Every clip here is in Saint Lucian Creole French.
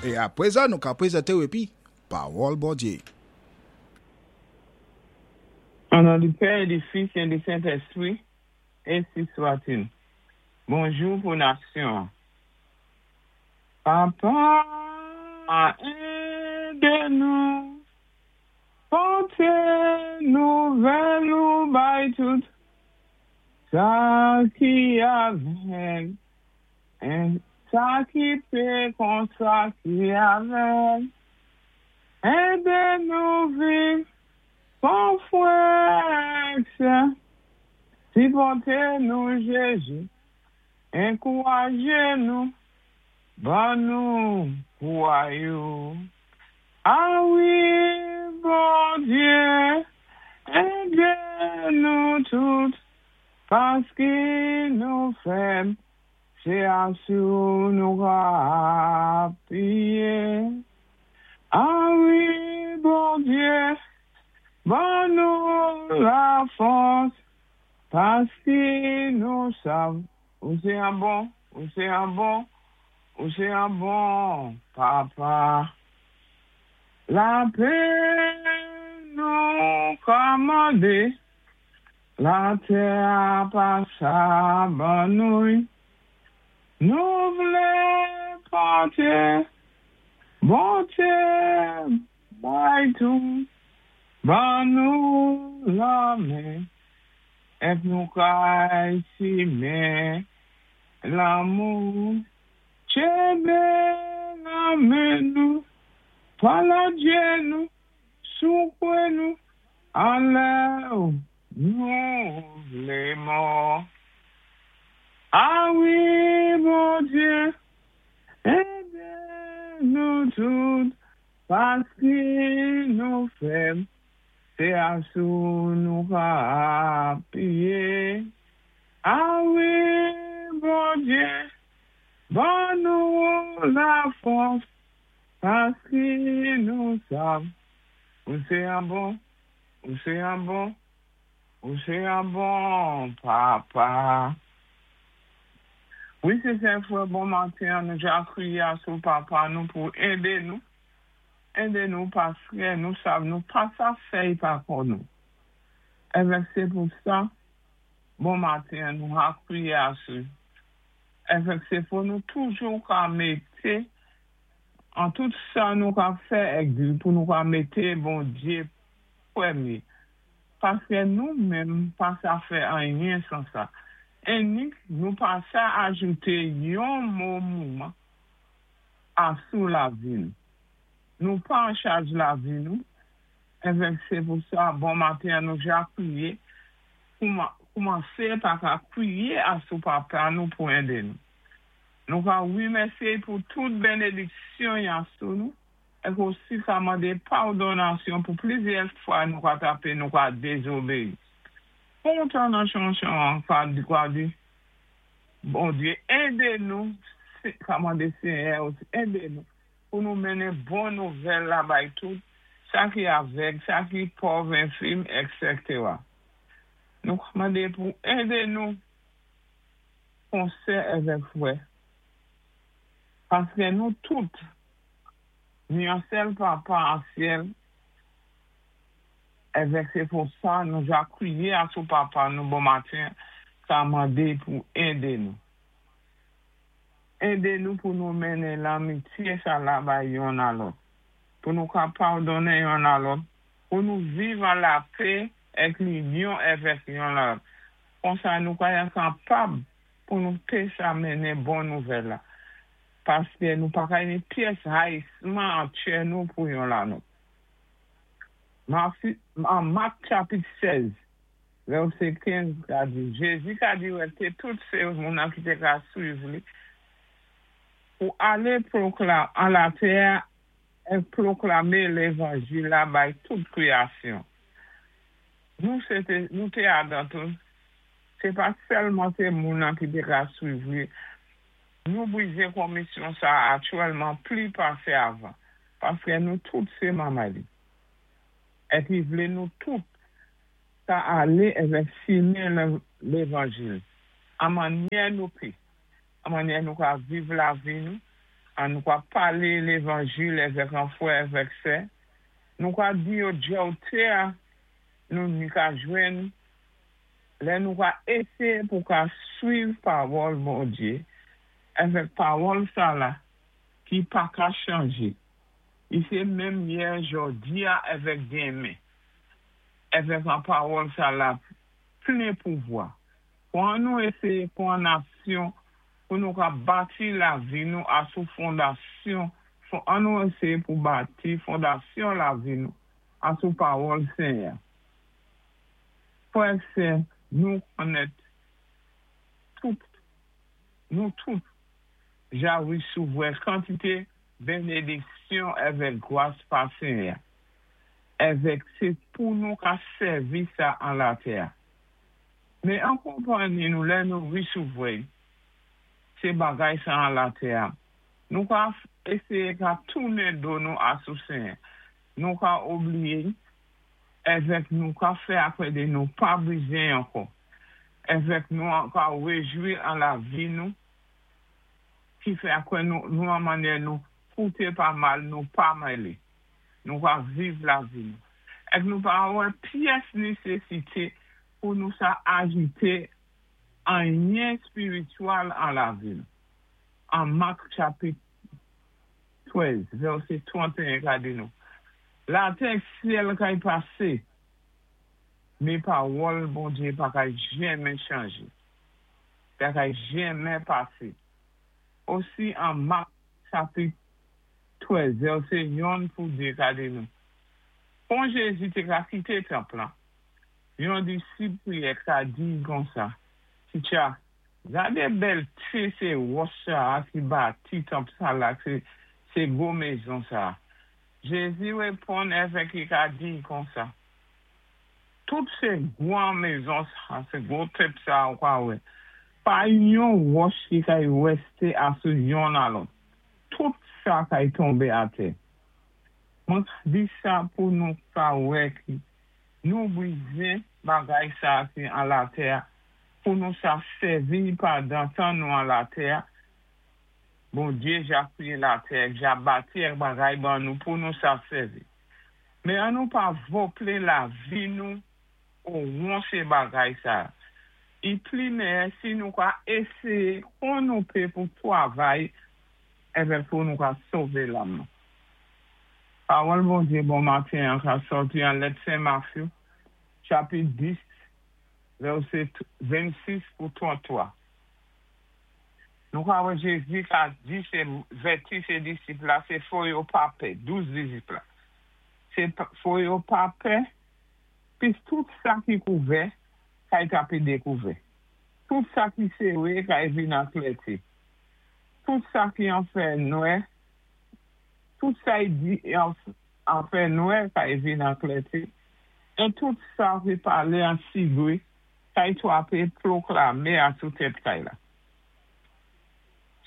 É apwé sa nou ka pwézanté-w épi Pawòl Bondyé. Au nom du Père et du Fils et du Saint-Esprit, ainsi soit-il. Bonjou pou nasyon. Papa, édé nou pòté nouvèl ou bay tout sa ki avèg, sa ki pé kon sa ki avèg. Édé nou viv kon frè, sè, sipòté nou Jézu, ankourajé nou, ban nou kouray ou. A wi, Bondyé, édé nou tout, paski nou fèb, sé asou nou ka apiyé. A wi, Bondyé, ban nou lafòs, paski nou sav, ou sé an bon, ou sé an bon, ou sé an bon Papa. Lapè nou ka mandé, latè pa sa ban nou. Nou vlé pòté bonté bay tout, ban nou lamen, èk nou kay simen lanmou. Tchenbé lamen nou, paladjé nou, soukoué nou, anlè nou vlé mò. A wi, Bondyé, édé nou tout, paski nou fèb, sé asou nou ka apiyé. A wi, Bondyé, ban nou lafòs, paski nou sav, ou sé an bon, ou sé an bon, ou sé an bon Papa. Wi, sé sè frè, bon maten, nou ja kwiyé asou Papa nou pou édé nou, édé nou paski nou sav nou pa sa fè'y pa kò nou. Èvèk sé pou sa, bon maten, nou ka kwiyé asou. Èvèk sé pou nou toujou ka mété an tout sa nou ka fè èk di pou nou ka mété Bondyé pwémyé. Paski nou menm pa sa fè anyen san sa. Énik nou pa sa ajouté yon moman asou lavi nou. Nou pa an chaj lavi nou, èvèk sé pou sa, bon maten nou ja kwiyé, koumansé pa ka kwiyé asou Papa nou pou édé nou. Nou ka wimèsyé pou tout bénédiksyon y asou nou, èk osi ka mandé padonasyon pou plizyè fwa nou ka tapé, nou ka dézobéyi. Kontan nan chanson an ka di kwa di, Bondyé édé nou, ka mandé Séyè osi édé nou, pou nou mennen bon nouvèl la bay tout, sa ki avèg, sa ki pòv, enfim, etc. Nou ka mandé pou édé nou kon sè èvèk frè. Paski nou tout, ni an sèl Papa an syèl, èvèk sé pou sa nou ja kwiyé asou Papa nou bon maten ka mandé pou édé nou. Édé nou pou nou mennen lanmityé sa la bay yonn a lòt. Pou nou ka padonnen yonn a lòt, pou nou viv an lapè èk linyon èvèk yonn a lòt. Konsa nou ka kapab pou nou té sa mennen bon nouvèl la. Paski nou pa ka ni pyès rayisman an tchè nou pou yon la lòt. An Mak chapit 16, vèsé 15 ka di, Jézi ka di wè tout sé moun ki té ka swiv li pou alé pwokla an latè é pwoklamé lévanjil la bay tout kwiyasyon. Nou sé té, nou té adan tou, sé pa sèlman sé moun ki té ka swiv li, nou bizwen komisyon sa aktyèlman pli pasé avan, paski nou tout sé manmay li. Épi vlé nou tout ka alé èvèk simen lévanjil. An mannyè nou pé, an mannyè nou ka viv lavi nou. An nou ka palé lévanjil èvèk an frè èvèk sè, nou ka di yo djòté-a nou ni ka jwenn lè nou ka éséyé pou ka swiv pawòl Bondyé èvèk pawòl sa-la ki pa ka chanjé. Li sé menm yè, jòdi-a èvèk denmen. Èvèk an pawòl sa-la plen pouvwa. Fò an nou éséyé pwan aksyon pou nou ka bati lavi nou asou fondasyon, fò an nou éséyé pou bati fondasyon lavi nou asou pawòl Senyè-a. Frè ak sè, nou konnèt tout, nou tout ja risouvwè kantité benediksyon èvèk gwas pa Senyè-a, èvèk sé pou nou ka sèvi sa an latè-a. Men an konpanni nou lè nou risouvwè sé bagay sa an latè-a, nou ka éséyé ka tounen do nou asou Senyè, nou ka obliyé èvèk nou ka fè akwè de nou pa bizyen ankò, èvèk nou an ka réjwi an lavi nou ki fè akwè nou nou an mannyè nou kouté pa mal nou pa mélé. Nou ka viv lavi nou. Èk nou pa wè pyès nésésité pou nou sa ajouté anyen éspirityèl an lavi nou. An Mak chapit 13, vèsé 31 ka di nou, Latè ak syèl kay pasé, mé pawòl Bondyé pa kay jenmen chanjé, pa kay jenmen pasé. Osi an Mak chapit 13, vèsé yonn pou 2 ka di nou, Kon Jézi té ka kité tanp lan, yon disip priyè ka di konsa, Titcha, gadé bèlté sé wòch sa-a ki bati tanp sa-la sé gwo mézon sa-a. Jézi réponn èvèk i ka di konsa, Tout sé gwan mézon sa, sé gwo tanp sa ou ka wè, pa yon wòch ki kay wèsté asou yonn a lòt. Tout sa kay tonbé atè. Mwen di sa pou nou ka wè ki nou bizyen bagay sa ki an latè-a pou nou sa sèvi pandan tan nou an latè-a. Bondyé ja kriyé latè ja bati èk bagay ban nou pou nou sa sèvi. Mé an nou pa voplé lavi nou owon sé bagay sa. I pli méyè si nou ka éséyé kon nou pé pou twavay èvèk pou nou ka sové lam nou. Pawòl Bondyé bon maten an ka sòti an lèt Sen Matthew, chapit 10, vèsé 26 pou 33. Nou ka wè Jézi ka di sé vèti sé disip la sé fò yo pa pè, 12 disip la. Sé fò yo pa pè, pis tout sa ki kouvè kay tapé dékouvè. Tout sa ki séré kay vin an klèté. Tout sa ki an fè nwè, tout sa i di an fè nwè kay vin an klèté, é tout sa ki palé an sigwé kay twapé pwoklamé asou tèt kay la.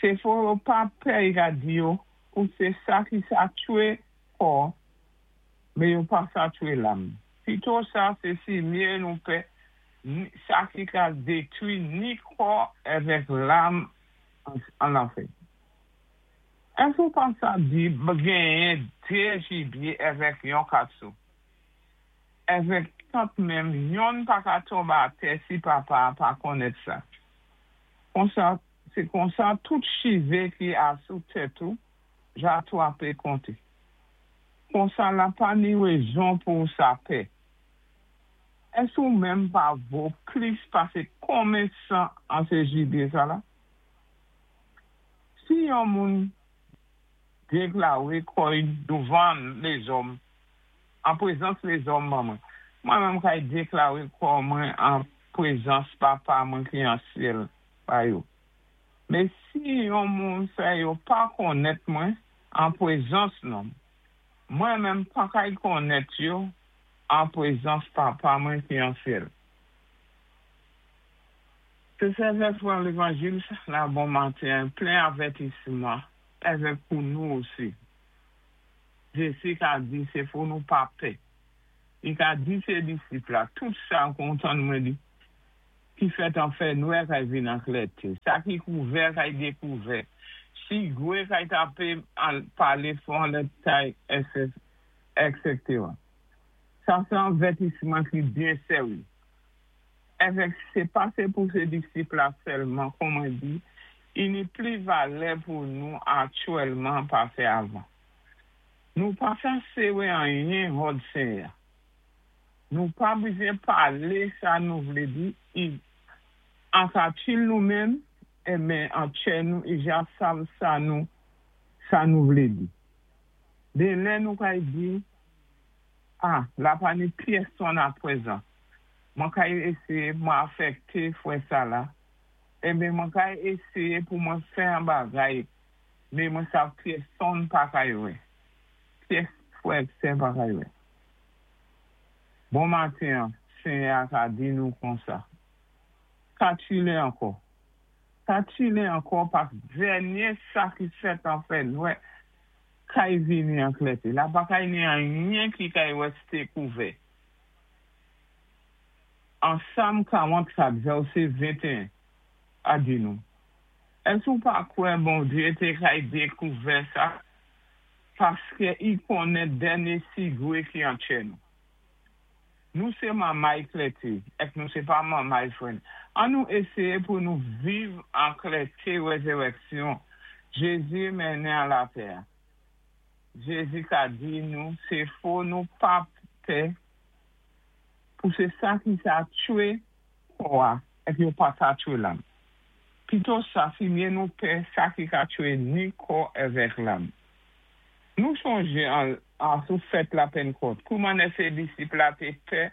Sé fò yo pa pè i ka di yo pou sé sa ki sa tchwé kò, mé yo pa sa tchwé lam. Pito sa sé si myé nou pè sa ki ka détwi ni kò èvèk lam an lanfè. Èske ou pa sa di genyen dé jibyé èvèk yon kat sou? Èvèk tant menm yonn pa ka tonbé atè si Papa-a pa konnèt sa. Konsa, sé konsa tout chivé ki asou tèt ou ja twapé konté. Konsa la pa ni rézon pou ou sa pè. Èske ou menm pa vo plis pasé konmen 100 an sé jibye sa la? Si yon moun déklaré kò-y douvan lézòm, an prézans lézòm ban mwen, mwen menm kay déklaré kò mwen an prézans Papa mwen ki an syèl ba yo. Mé si yon moun fè yo pa konnèt mwen an prézans lòm, mwen menm pa kay konnèt yo an prézans Papa mwen ki an syèl. Sé sèvèt pran lévanjil la bon maten plen avètisman èvèk pou nou osi. Jézi ka di sé fò nou pa pè. Li ka di sé disip la tout sa kon tann mwen di ki fèt an fè nwè kay vin an klèté, sa ki kouvè kay dékouvè. Sigwé kay tapé palé fò anlè tay èksétéra. Sa sé an vètisman ki byen sèwé. Èvèk sé pa sé pou sé disip la sèlman, kon mwen di, i ni pli valè pou nou aktyèlman pasé avan. Nou pa sa séwé anyen hòd Senyè-a. Nou pa bizwen palé sa nou vlé di, i an katil nou menm, enben an tchè nou i ja sav sa nou sa nou vlé di. De lè nou kay di, A, la pa ni pyèsonn apwézan. Mwen kay éséyé pou mwen afèkté fwè sa la, enben mwen kay éséyé pou mwen fè an bagay, mé mwen sav pyèsonn pa kay wè. Pyès fwè ak sè pa kay wè. Bon maten an, Senyè a ka di nou konsa, Katchile ankò. Katchile ankò pask dènyé sa ki fèt an fè nwè kay vini an klèté. La pa kay ni anyen ki kay wèsté kouvè. An Sam 44 vèsé 21 a di nou, Èske ou pa kwè Bondyé té kay dékouvè sa paskè i konnen dènyé sigwé ki an tchè nou? Nou sé manmay klèté, èk nou sé pa manmay fwèn. An nou éséyé pou nou viv an klèté wèzèrèksyon Jézi mennen an latè-a. Jézi ka di nou sé fo nou pa pè pou sé sa ki sa tchwé kò-a èk yo pa sa tchwé lam. Pito sa, si mye nou pè sa ki ka tchwé ni kò èvèk lam. Nou chonjé an asou fèt la Pennkòt, kouman sé disip la té pè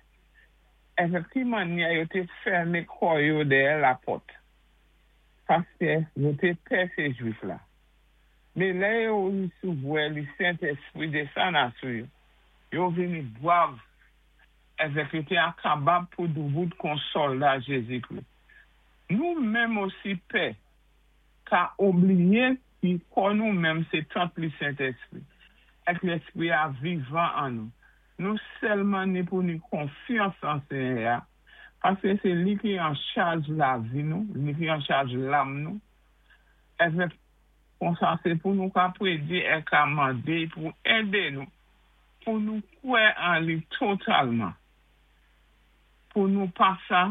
èvèk ki mannyè yo té fèmen kò yo dèyè lapòt, paskè yo té pè sé Jwif la. Mé lè yo wisouvoè li Sentèspwi désann asou yo, yo vini bwav èvèk yo té ankabab pou doubout kon sòlda Jézikri. Nou menm osi pè ka oubliyé ki kò nou menm sé tant li Sentèspwi, èk Lèspwi-a vivan an nou. Nou sèlman ni pou ni konfyans an Senyè-a, paskè sé li ki an chaj lavi nou, li ki an chaj lam nou, èvèk konsa sé pou nou ka prédi èk ka mandé-y pou édé nou pou nou kwè an li totalman, pou nou pa sa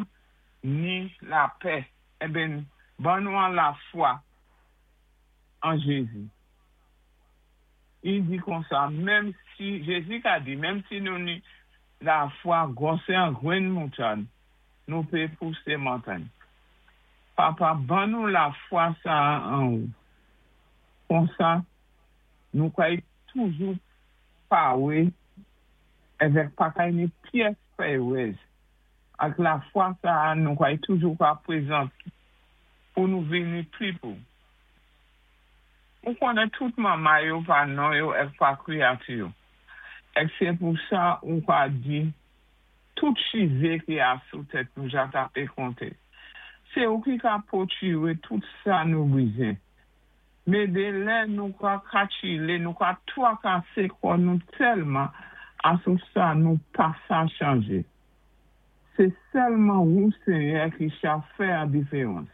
ni lapè, enben ban nou an lafwa an Jézi. I di konsa, menm si, Jézi ka di, menm si nou ni lafwa gwòsè an gwenn moutad, nou pé pousé montagn. Papa, ban nou lafwa sa-a an ou. Konsa, nou kay toujou pawé èvèk pa kay ni pyès pèwèz. Ak lafwa sa-a nou kay toujou ka pwézant pou nou vini pli pou. Ou konnen tout manmay yo pa non yo èk pa kwiyati yo. Èk sé pou sa ou ka di tout chivé ki asou tèt nou ja tapé konté. Sé ou ki ka pwotiré tout sa nou bizwen. Mé dé lè nou ka katchilé, nou ka twakasé kò nou tèlman asou sa nou pa sa chanjé. Sé sèlman wou Senyè ki cha fè an diféwans.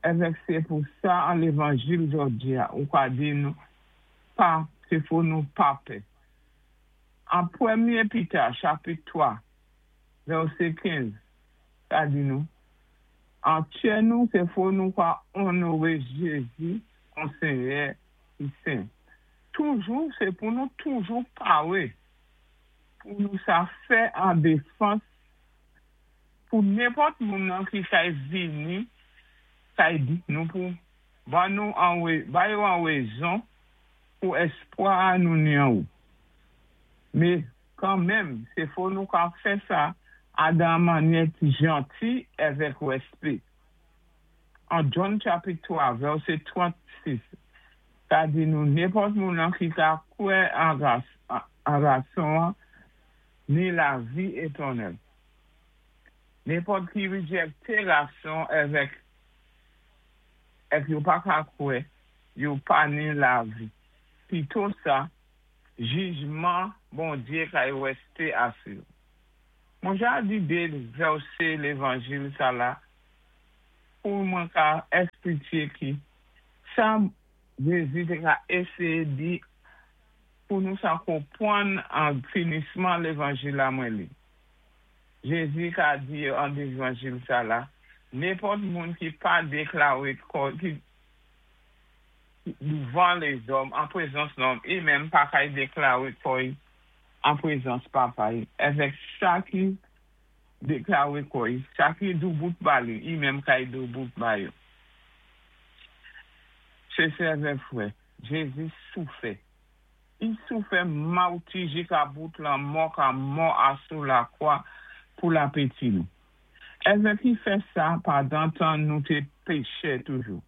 Èvèk sé pou sa an lévanjil jòdi-a ou ka di nou pa sé fo nou pa pè. An pwémyé Pita chapit 3 vèsé 15 ka di nou, An tchè nou sé fo nou ka onnoré Jézi kon Senyè ki sen. Toujou sé pou nou toujou pawé pou nou sa fè an défans pou nenpòt moun nan ki kay vini kay di nou pou ban nou an ba yo an wézon pou èspwa a nou ni an ou. Mé kanmenm sé fo nou ka fè sa a dan an mannyè ki janti èvèk wèspé. An John chapit 3 vèsé 36 ka di nou nenpòt moun an ki ka kwè an Gason an ni lavi étènèl. Nenpòt ki rijèkté Gason èvèk èk yo pa ka kwè, yo pa ni lavi. Pito sa, jijman Bondyé kay wèsté asou yo. Mwen ja di dé vèsé lévanjil sa la pou mwen ka èsplitye ki sa. Jézi té ka éséyé di pou nou sa konpwann an finisman lévanjil la mwen li. Jézi ka di an lévanjil sa la, nenpòt moun ki pa déklawé kò ki douvan lézòm an prézans lòm, i menm pa kay déklawé kò-y an prézans Papa-y. Avèk sa ki déklawé kò-y, sa ki doubout ba li, i menm kay doubout ba yo. Sé sè avèk frè, Jézi soufè. I soufè mawti jika bout lanmò ka mò asou lakwa pou lapéti nou. Avèk i fè sa pandan tan nou té péchè toujou.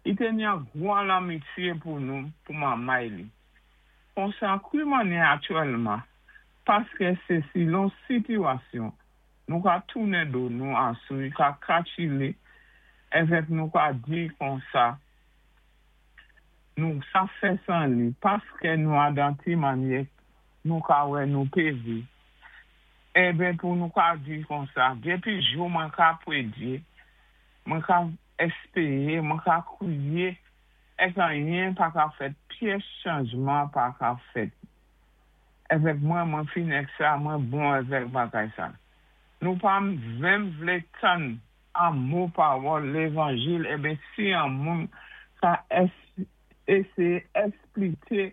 I té ni an gwan lanmityé pou nou, pou manmay li. Konsa kwi mannyè aktyèlman, paské sé silon sitiwasyon, nou ka tounen do nou asou, ka katchi li, avèk nou ka di konsa, nou sa fè san li, paské nou adan ti mannyè, nou ka wè nou pé viv. Eben pou nou ka di konsa, dépi jou mwen ka pwédyé, mwen ka éspéyé, mwen ka kwiyé, èk anyen pa ka fèt, pyès chanjman pa ka fèt. Avèk mwen, mwen fin èk sa, mwen bon avèk bagay sa. Nou pa menm vlé tann an mo pawòl lévanjil, eben si an moun ka éséyé éspliké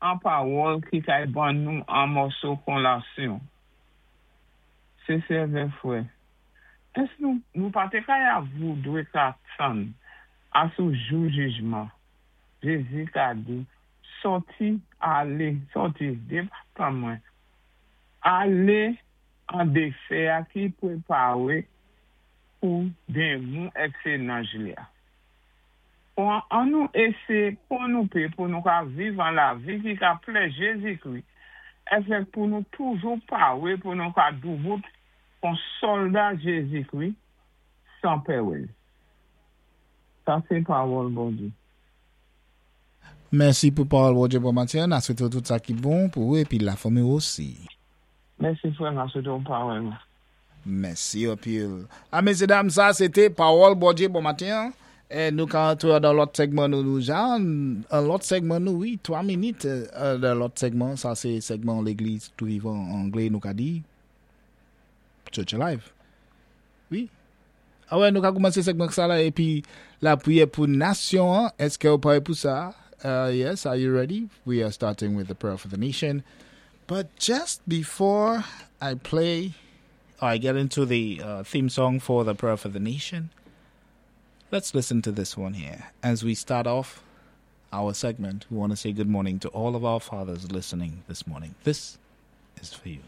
an pawòl ki kay ban nou an mòso konlasyon. Sé sè avèk frè. Ès nou, nou pa té kay avoudwé ka tann asou jou jijman. Jézi ka di, sòti, alé, sòti, dépa mwen. Alé an défé-a ki pwépawé pou démon èk sé nanj li-a. An nou éséyé kon nou pé pou nou ka viv an lavi ki ka plè Jézikri. Avèk pou nou toujou pawé pou nou ka doubout kon sòlda Jézikri san pèwèz. Sa sé pawòl Bondyé. Mèsi pou pawòl Bondyé bon maten. N a swété tout sa ki bon pou ou épi lafanmi osi. Mèsi frè, m a swété parèyman. Mèsi anpil. A mesyédam, sa sé té pawòl Bondyé bon maten. É nou ka antré dan lòt segman nou nou jan, an lòt segman nou, wi, 3 minit dan lòt segman, sa sé segman Légliz Tou Vivan an anglé nou ka di Church Alive. Wi. A wè, nou ka koumansé segman sa la épi lapriyè pou nasyon, èské ou pawé pou sa? Yes, are you ready? We are starting with the prayer for the nation. But just before I play, or I get into the theme song for the prayer for the nation, let's listen to this one here. As we start off our segment, we want to say good morning to all of our fathers listening this morning. This is for you.